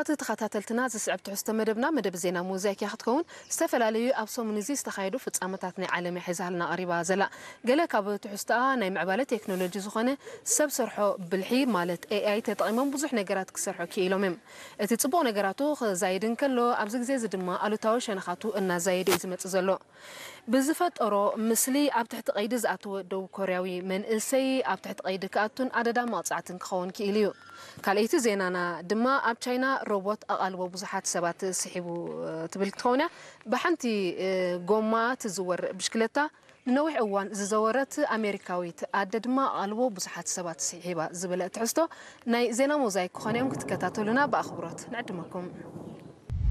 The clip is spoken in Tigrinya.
እቲ ተኸታተልትና፣ ዝስዕብ ትሕዝቶ መደብና፣ መደብ ዜና ሞዛይክ እያ ክትከውን። ዝተፈላለዩ ኣብ ሰሙን እዚ ዝተኻየዱ ፍጻመታት ናይ ዓለም እያ ሒዛልና ቀሪባ ዘላ። ገለ ካብ ትሕዝቶኣ ናይ ምዕባለ ቴክኖሎጂ ዝኾነ ሰብ ሰርሖ ብልሒ ማለት ኤ ኣይ ተጠቒሞም ብዙሕ ነገራት ክሰርሑ ክኢሎም እዮም። እቲ ጽቡቕ ነገራቱ ክዛይድ እንከሎ፣ ኣብዚ ግዜ እዚ ድማ ኣሉታዊ ሸነኻቱ እናዛየደ እዩ ዝመጽእ ዘሎ። ብዝፈጠሮ ምስሊ ኣብ ትሕቲ ቀይዲ ዝኣተወ ደቡብ ኮርያዊ መንእሰይ ኣብ ትሕቲ ቀይዲ ክኣቱን ኣደዳ መቕጻዕትን ክኸውን ክኢሉ እዩ። ካልኣይቲ ዜናና ድማ ኣብ ቻይና ሮቦት ኣቓልቦ ብዙሓት ሰባት ስሒቡ ትብል ክትኸውን እያ። ብሓንቲ ጎማ ትዝወር ብሽክለታ ንነዊሕ እዋን ዝዘወረት ኣሜሪካዊት ኣደ ድማ ኣቓልቦ ብዙሓት ሰባት ስሒባ ዝብል ትሕዝቶ ናይ ዜና ሞዛይክ ክኾነ እዮም። ክትከታተሉና ብኣኽብሮት ንዕድመኩም።